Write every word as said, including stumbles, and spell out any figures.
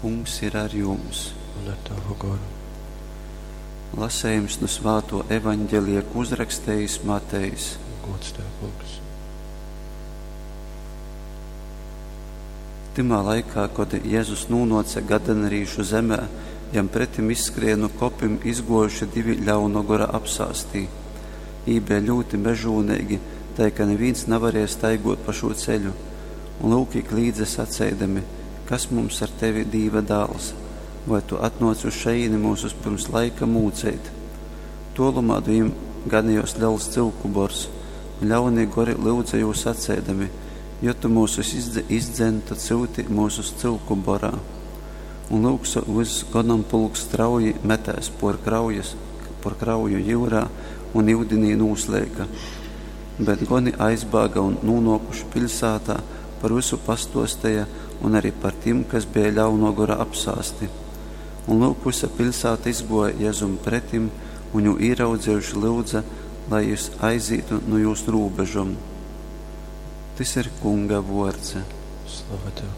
Kungs ir ar jums! Un ar tavu goru. Lasējums nu svāto evaņģelija, ko uzrakstījis Matejs. Gods tev, Kungs. Tymā laikā, kod Jezus nūnuoce Gadanrīšu zemē, jam pretim izskrēja nu kopim izguojuši divi ļauna gora apsāstī. Jī beja ļūti mežūneigi, tai ka nivīns navarēja staiguot pa šū ceļu. Un lūk, jī klīdze saceidami: Kas mums ar tevi, Dīva dāls? Vai tu atnōc uz šejīni myusus pyrms laika mūceit? Tuolumā nu jim ganījos lels cyuku bors, un ļaunī gori lyudze jū saceidami: Jo tu myusus izdzen, tad syuti myusus cyuku borā. Un lūk, vyss gonampulks strauji metēs por kraujas, por krauju jyurā un yudinī nūsleika. Bet goni aizbāga un nūnōkuši piļsātā par vysu pastuosteja un arī par tim, kas beja ļauno gora apsāsti. Un lūk, vysa piļsāta izguoja Jezum pretim un jū īraudzejuši lyudza, lai jis aizītu nu jūs rūbežom. Tys ir Kunga vuords. Slava tev,